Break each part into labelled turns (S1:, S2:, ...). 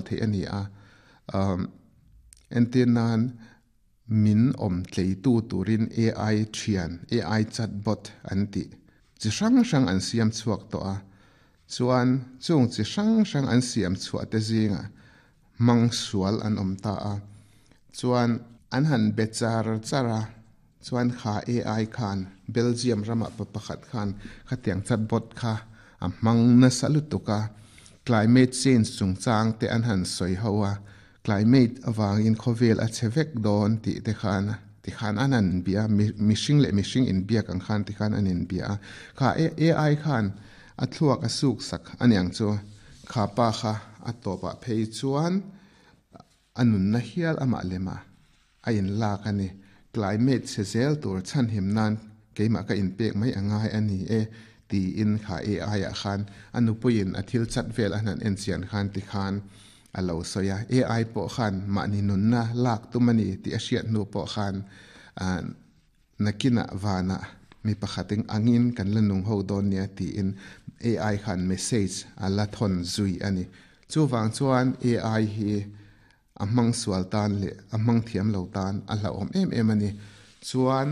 S1: theih a ni a. Um, entir nan min awm tleitu turin AI thian, AI chatbot an ti chi hrang hrang an siam chhuak tawh a. Chuan chung chi hrang hrang an siam chhuah te zingah hmang sual an awm ta a. Chuan an han be char char a, chuan kha AI khan Belgium ramah pa pakhat khan khatiang chatbot kha a hmang nasa lutuk a, climate change chungchang te an han sawi ho a, climate avangin khawvel a che vek dawn tih te khan tikhan an han bia a, mihring leh mihring inbiak ang khan tikhan an inbia a, kha AI khan a thluak a suk sak aniang chu kha pa kha a tawpah phei chuan a nunna hial amah lema a inlak a ni. Climate chhe zel tur chhanhim nan keimah ka inpek mai a ngai a ni e tiin kha AI ah khan a nupuiin a thil chat vel a han enchian khan tikhan a lo sawi a. AI pawh khan mahni nunna lak tum a ni tih a hriat hnu pawh khan Nakinah vanah mi pakhat eng angin kan la nung ho dawn nia tiin AI khan message a la thawn zui a ni. Chuvang chuan AI hi a hmang sual tan leh a hmang thiam lo tan a hlauhawm em em a ni. Chuan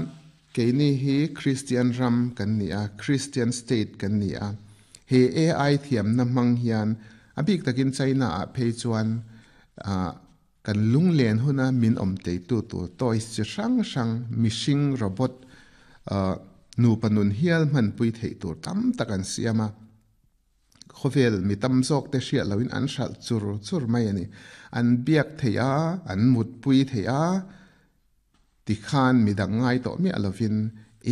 S1: keini hi Kristian ram kan ni a, Kristian state kan ni a, he AI thiamna hmang hian a bik takin China ah phei chuan Kan lunglen huna min awm teitu tur toys chi hrang hrang, mihring, robot, nupa nun hial hmanpui theih tur tam tak an siam a. Khawvel mi tam zawk te hriat loin an hralh chur chur mai a ni. An biak theih a, an mutpui theih a, tikhan midang ngai tawh miah lovin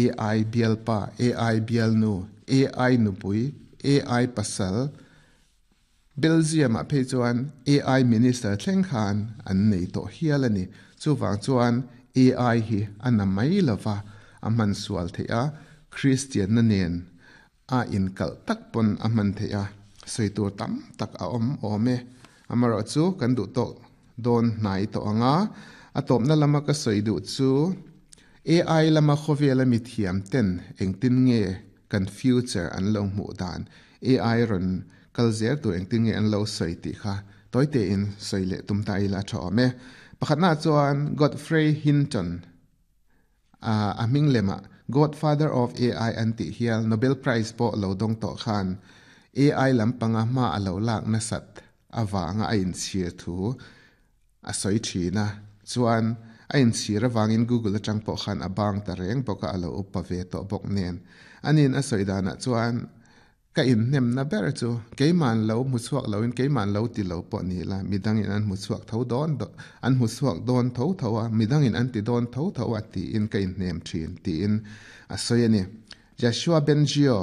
S1: AI bialpa, AI bialnu, AI nupui, AI pasal, Belgium-ah phei chuan AI Minister thleng khan an nei tawh hial a ni. Chuvang chuan AI hi a na mai lova, a hman sual theih a, Kristianna nen a inkalh tak pawn a hman theih a, sawi tur tam tak a awm awm e. Amaherawhchu kan duh tawk dawn hnai tawh ang a, a tawpna lama ka sawi duh chu AI lama khawvela mithiam ten engtin nge kan future an lo hmuh dan AI rawn kal zel tur engtin nge an lo sawi tih kha tawi tein sawi leh tum ta ila a tha awm e. Pakhatnaah chuan Godfrey Hinton a hming lemah Godfather of AI an tih hial Nobel Prize pawh lo dawng tawh khan AI lampanga hma a lo lak nasat avanga a inchhir thu A sawi thin a, chuan a inchhir avangin Google atang pawh khan a bang ta reng bawk a, a lo upa ve tawh bawk nen. Ani'n a sawi danah chuan ka inhnemna ber chu keima'n lo hmu chhuak loin keima'n lo ti lo pawh ni la, midangin an hmu chhuak tho dawn an hmu chhuak dawn tho tho a, midangin an ti dawn tho tho a tiin ka inhnem thin tiin a sawi a ni. Joshua Bengio,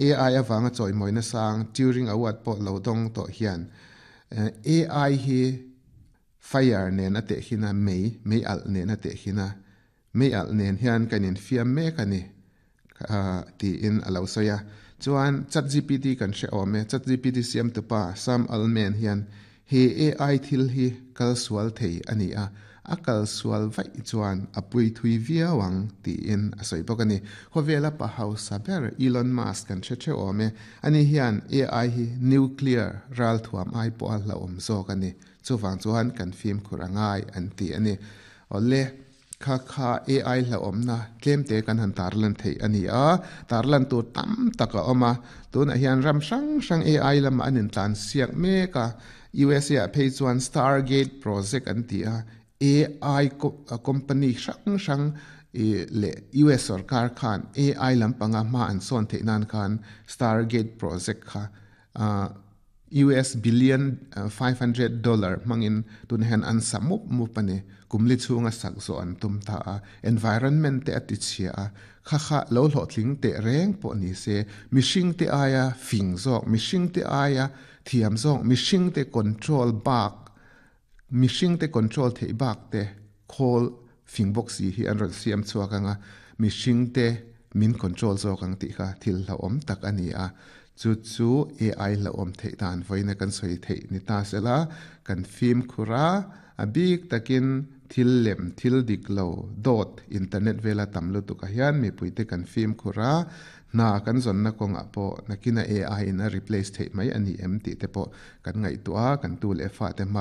S1: AI avanga chawimawina sang Turing Award pawh lo dawng tawh hian AI hi fire nen a teh hin a, mei, mei alh nen a teh hin a, mei alh nen hian kan infiam mek a ni tiin a lo sawi a. Chuan ChatGPT kan hre awm e, ChatGPT siamtupa Sam Altman hian he AI thil hi kal sual thei a ni a, A kal sual vaih chuan a pui thui viau ang tiin a sawi bawk a ni. Khawvela pa hausa ber Elon Musk kan hre theuh awm e. Ani hian AI hi nuclear ralthuam ai pawha hlauhawm zawk a ni. Chuvang chuan kan fimkhur a ngai an ti a ni. Awle, kha kha AI hlauhawmna tlemte kan han tarlan theih a ni a, tarlan tur tam tak a awm a. Tunah hian ram hrang hrang AI lamah an intlansiak mek a. USA ah phei chuan Stargate Project an ti a, AI company hrang hrang leh US sorkar khan AI lampanga hma an sawn theih nan khan Stargate Project kha US billion $500 hmangin tunah hian an sa mup mup a ni. Kum li chhunga sak zawh an tum ta a, environment te a ti chhia a, kha kha lo hlawhtling teh reng pawh ni se, mihring te aia fing zawk, mihring te aia Thiam zawk mihringte control bak mihringte control theih bak te khawl fing bawk si hi an rawn siam chhuak ang a, mihringte min control zawk ang tih kha thil hlauhawm tak a ni a, chu chu AI hlauhawm theih dan vawiina kan sawi theih ni ta sela kan fimkhur a, a bik takin thil lem thil dik lo dawt internet vela tam lutuk ah hian mipuite kan fimkhur a, Hna kan zawnna kawngah pawh nakina AI in a replace theih mai a ni em tih te pawh kan ngaihtuah a, kan tu leh fate hma.